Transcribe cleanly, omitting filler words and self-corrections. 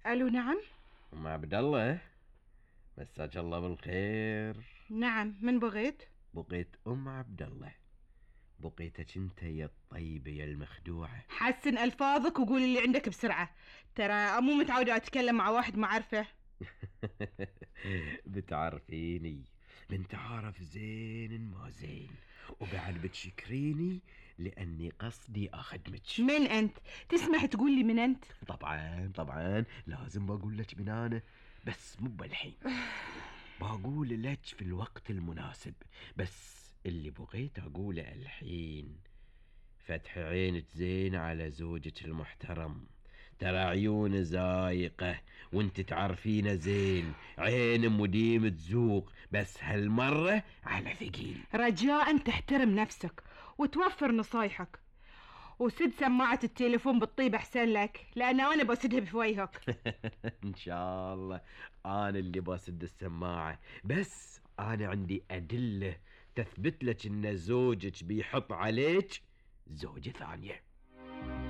الو، نعم. ام عبد الله، مساك الله بالخير. نعم، من بغيت؟ بقيت ام عبد الله، بقيتك انت يا الطيبة يا المخدوعة. حسن الفاظك وقول اللي عندك بسرعة، ترى مو متعودة اتكلم مع واحد ما اعرفه. بتعرفيني، من تعرف زين ما زين، وبعد بتشكريني لاني قصدي اخدمك. من انت؟ تسمح تقول لي من انت؟ طبعا لازم بقول لك من انا، بس مو بالحين. بقول لك في الوقت المناسب، بس اللي بغيت اقوله الحين فتح عينك زين على زوجك المحترم. ترى عيونه زايقة وانت تعرفينه زين، عين مديم تزوق، بس هالمرة على ثقيل. رجاء تحترم نفسك وتوفر نصايحك، وسد سماعة التليفون بالطيب احسن لك، لان انا بسدها بفويهك. ان شاء الله انا اللي بسد السماعة، بس انا عندي ادلة تثبت لك ان زوجك بيحط عليك زوجة ثانية.